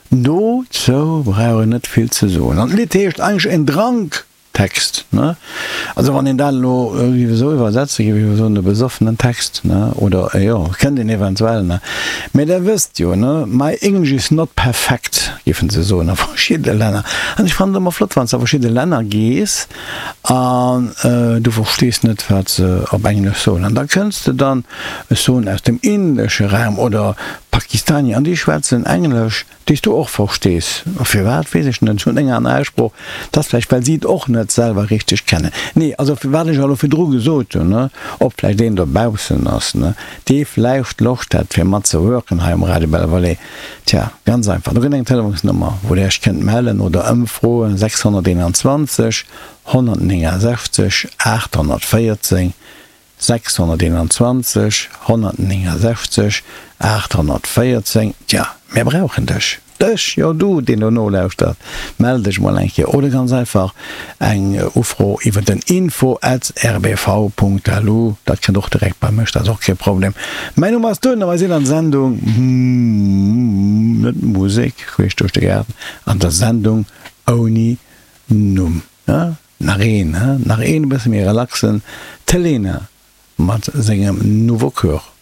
Dozou brauch een net vill ze soen. An d'Lidd heescht eigentlech En Drank Text, ne? Also wann een dat elo géif esou iwwersetzen, géif ech soen, e besoffenen Text, ne? Oder, jo, kënnt een eventuell, ne? Mä Der wësst jo, ne, my English is not perfect, géifen se soen a verschidde Länner. An ech fannen et ëmmer flott, wann s de a verschidde Länner gees an du verstees net, wat se op Englesch soen. An da kënns de dann, ech soen, aus dem indesche Raum oder Pakistanier, an déi schwätzen Englesch. Déi s du och verstees. A firwat, weess ech net. Ech hunn eng aner Aussprooch. Dat ass vläicht, well si et och net selwer richteg kennen. Nee, also wat ech elo virdru gesot hunn, ne, ob vläicht een dobaussen ass, ne, dee vläicht Loscht hätt, fir mat ze worken hei um Radio Bellevallée. Tja, ganz einfach, do gëtt eng Telefonsnummer, wou Der Iech kënnt mellen oder ëmfroen, 621 169 814. 621 169 814 Tja, mir brauchen dech! Dech, jo du, deen do nolauschtert, mell dech mol eng Kéier oder ganz einfach eng Ufro iwwer den info at rbv.lu, dat kënnt och direkt bei mech, dat ass och kee Problem. Mäin Numm ass Tun a mir sinn an Sendung, net Musek queesch duerch de Gaarden, an der Sendung ouni Numm. Nach een, he? Nach een e bësse méi relaxen, d'Helena mat sengem Nouveau Coeur.